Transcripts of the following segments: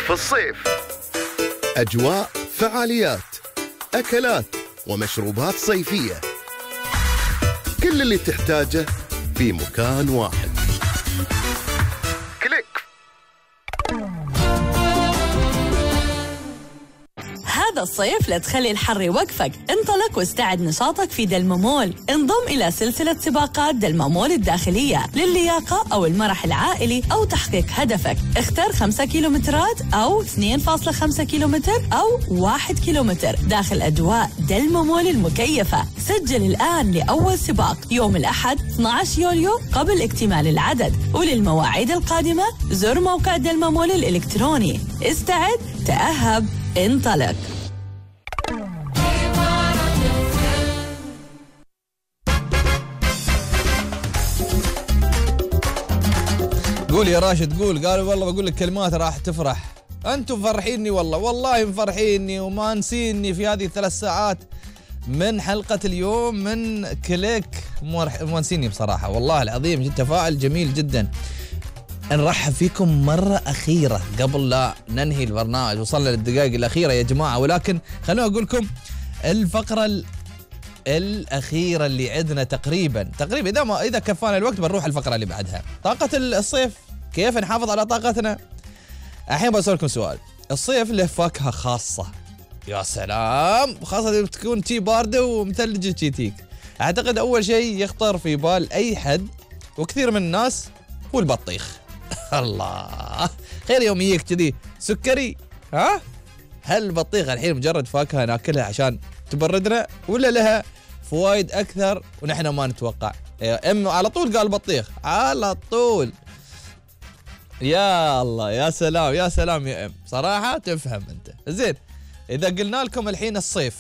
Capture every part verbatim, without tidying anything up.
في الصيف. أجواء، فعاليات، أكلات ومشروبات صيفية، كل اللي تحتاجه في مكان واحد. كليك. هذا الصيف لا تخلي الحر يوقفك، انطلق واستعد نشاطك في دلمامول. انضم إلى سلسلة سباقات دلمامول الداخلية للياقة أو المرح العائلي أو تحقيق هدفك. اختر خمسة كيلومترات أو اثنين فاصلة خمسة كيلومتر أو واحد كيلومتر داخل أجواء دلمامول المكيفة. سجل الآن لأول سباق يوم الأحد اثني عشر يوليو قبل اكتمال العدد، وللمواعيد القادمة زر موقع دلمامول الإلكتروني. استعد، تأهب، انطلق. قول يا راشد قول. قالوا والله بقول لك كلمات راح تفرح. أنتم مفرحيني والله والله مفرحيني وما نسيني في هذه الثلاث ساعات من حلقة اليوم من كليك. ما نسيني بصراحة والله العظيم، جد تفاعل جميل جدا. نرحب فيكم مرة أخيرة قبل لا ننهي البرنامج. وصلنا للدقائق الأخيرة يا جماعة، ولكن خلونا أقول لكم الفقرة الأخيرة اللي عندنا تقريبا تقريبا إذا ما إذا كفانا الوقت بنروح الفقرة اللي بعدها. طاقة الصيف، كيف نحافظ على طاقتنا؟ الحين بسألكم سؤال. الصيف له فاكهة خاصة، يا سلام، خاصة إذا تكون تي باردة ومثلجة تيتيك. أعتقد أول شيء يخطر في بال أي حد وكثير من الناس هو البطيخ. الله خير يوم يجيك كذي سكري. ها هل البطيخ الحين مجرد فاكهة ناكلها عشان تبردنا ولا لها فوائد أكثر ونحن ما نتوقع؟ أم على طول قال بطيخ على طول. يا الله يا سلام يا سلام يا أم، صراحة تفهم أنت. زين، إذا قلنا لكم الحين الصيف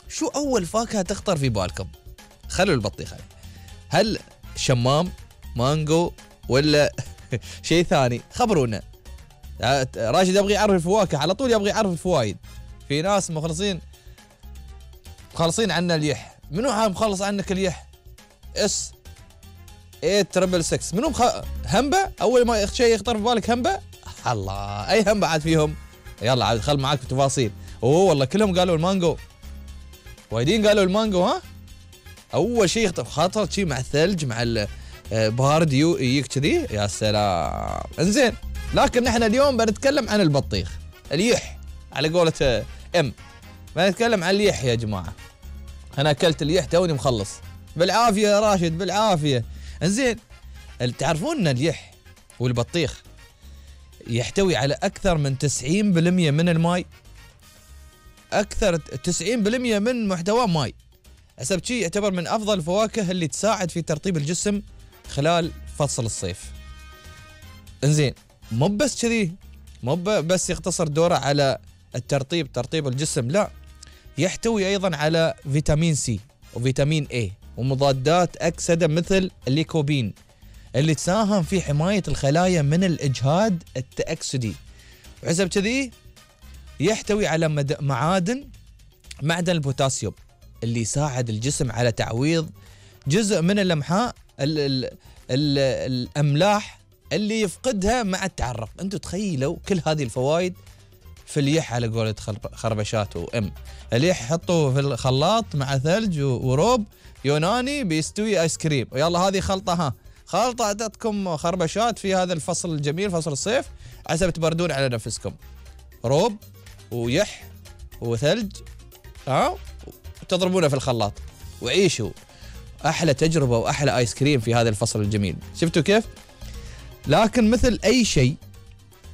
شو أول فاكهة تخطر في بالكم؟ خلوا البطيخ عليه. هل شمام، مانجو، ولا شيء ثاني؟ خبرونا. راشد يبغي يعرف الفواكه على طول، يبغي يعرف الفوائد. في ناس مخلصين مخلصين عنا اليح. منو ها مخلص عنك اليح؟ اس ايه تربل سكس. منو مخ... همبة؟ اول ما شيء يخطر في بالك همبة؟ الله، اي همبة عاد فيهم؟ يلا عاد خل معاك التفاصيل. اوه والله كلهم قالوا المانجو، وايدين قالوا المانجو. ها اول شيء يخطر خاطر شيء مع الثلج مع البارد يجيك كذي، يا سلام. انزين، لكن نحن اليوم بنتكلم عن البطيخ، اليح على قولة ام. بنتكلم عن اليح يا جماعة. انا اكلت اليح توني مخلص بالعافية يا راشد بالعافية. انزين، تعرفون ان اليح والبطيخ يحتوي على اكثر من تسعين بالمئة من الماء. اكثر تسعين بالمئة من محتواه ماء. حسب شيء يعتبر من افضل الفواكه اللي تساعد في ترطيب الجسم خلال فصل الصيف. انزين، مو بس كذي، مو بس يقتصر دوره على الترطيب ترطيب الجسم، لا، يحتوي ايضا على فيتامين سي وفيتامين اي ومضادات اكسده مثل الليكوبين اللي تساهم في حمايه الخلايا من الاجهاد التاكسدي. وحسب كذي يحتوي على معادن معدن البوتاسيوم اللي يساعد الجسم على تعويض جزء من الامحاء ال ال ال الاملاح اللي يفقدها مع التعرق. انتم تخيلوا كل هذه الفوائد في اليح على قولة خربشات وام. اليح حطوه في الخلاط مع ثلج وروب يوناني بيستوي ايس كريم. ويلا هذه خلطة، ها خلطة اعطتكم خربشات في هذا الفصل الجميل فصل الصيف عسى تبردون على نفسكم. روب ويح وثلج، ها تضربونه في الخلاط وعيشوا احلى تجربة واحلى ايس كريم في هذا الفصل الجميل. شفتوا كيف؟ لكن مثل اي شيء،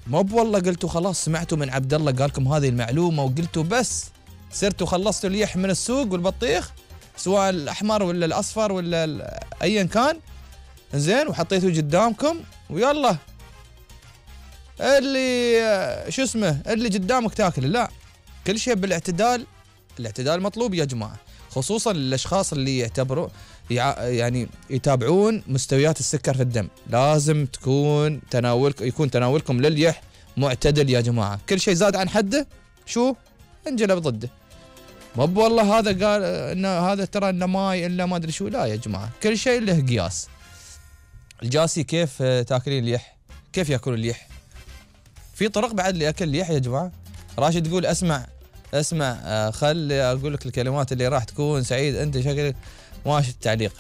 مو والله قلتوا خلاص سمعتوا من عبد الله قال لكم هذه المعلومه وقلتوا بس صرتوا خلصتوا اليح من السوق والبطيخ سواء الاحمر ولا الاصفر ولا ايا كان، زين، وحطيتوه قدامكم ويلا اللي شو اسمه اللي قدامك تاكل. لا، كل شيء بالاعتدال. الاعتدال مطلوب يا جماعه، خصوصا للاشخاص اللي يعتبروا يعني يتابعون مستويات السكر في الدم. لازم تكون تناولك يكون تناولكم لليح معتدل يا جماعه. كل شيء زاد عن حده شو انجلب ضده. مو والله هذا قال ان هذا ترى انه ماي الا ما ادري شو. لا يا جماعه، كل شيء له قياس. الجاسي كيف تاكلين اليح؟ كيف ياكلون اليح؟ في طرق بعد لاكل الليح يا جماعه. راشد يقول اسمع اسمع آه خل اقول لك الكلمات اللي راح تكون سعيد انت شكلك ماشي التعليق.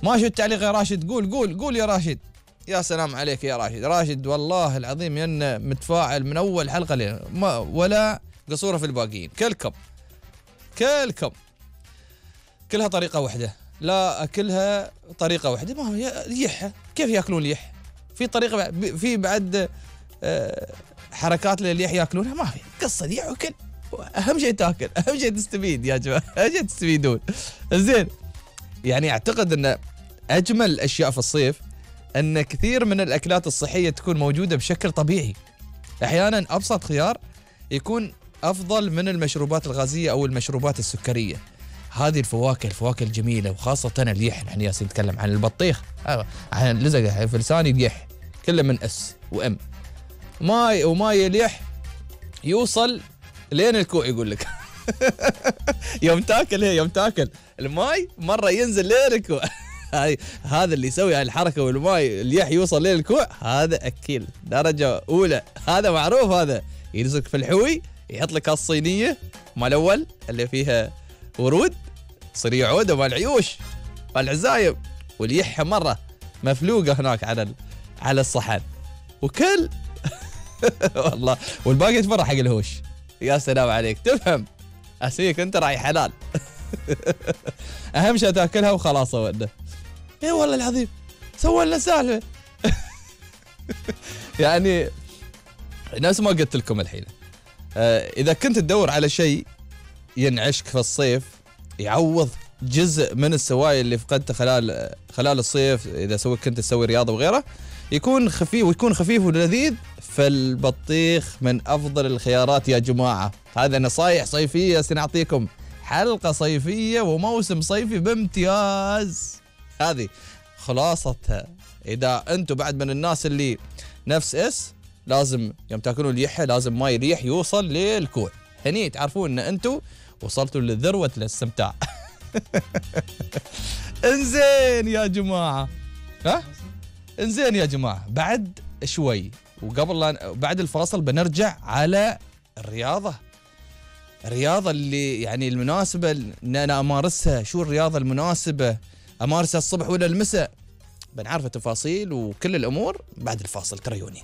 ماشي التعليق يا راشد. قول قول قول يا راشد. يا سلام عليك يا راشد. راشد والله العظيم ين متفاعل من اول حلقه لين ما ولا قصوره في الباقيين. كلكم كلكم كلها طريقه واحده. لا اكلها طريقه واحده. ما هو ليحه كيف ياكلون ليح؟ في طريقه في بعد حركات لليح ياكلونها. ما في قصه ليح وكل. اهم شيء تاكل. اهم شيء تستفيد يا جماعه. اهم شيء تستفيدون. زين يعني اعتقد ان اجمل الاشياء في الصيف ان كثير من الاكلات الصحيه تكون موجوده بشكل طبيعي. احيانا ابسط خيار يكون افضل من المشروبات الغازيه او المشروبات السكريه. هذه الفواكه الفواكه الجميله وخاصه الليح. نحن ياسين نتكلم عن البطيخ عن اللزقه في لساني ليح كله من اس وام. ماي وماي ليح يوصل لين الكوع يقول لك. يوم تاكل هي يوم تاكل الماي مره ينزل لين الكوع. هذا اللي يسوي هالحركه والماي الليح يوصل لين الكوع هذا اكيل درجه اولى. هذا معروف. هذا يلزق في الحوي يحط لك الصينيه مال الاول اللي فيها ورود صريع عوده مال عيوش مال عزايم واليحها مره مفلوقه هناك على على الصحن وكل. والله والباقي يتفرح حق الهوش. يا سلام عليك تفهم. اسيك انت راعي حلال. اهم شيء تاكلها وخلاص وده. اي والله العظيم سوى لنا سالفه. يعني نفس ما قلت لكم الحين آه اذا كنت تدور على شيء ينعشك في الصيف يعوض جزء من السوائل اللي فقدته خلال خلال الصيف اذا سويت كنت تسوي رياضه وغيره يكون خفيف ويكون خفيف ولذيذ. فالبطيخ من افضل الخيارات يا جماعه. هذا نصايح صيفيه سنعطيكم حلقه صيفيه وموسم صيفي بامتياز. هذه خلاصتها. اذا انتم بعد من الناس اللي نفس اس لازم يوم تاكلون اليحه لازم ماي ريح يوصل للكوع. هني تعرفون ان انتم وصلتوا لذروه الاستمتاع. انزين يا جماعه. ها انزين يا جماعه بعد شوي وقبل لا بعد الفاصل بنرجع على الرياضه. الرياضه اللي يعني المناسبه ان انا امارسها. شو الرياضه المناسبه امارسها الصبح ولا المساء؟ بنعرف التفاصيل وكل الامور بعد الفاصل. تريوني.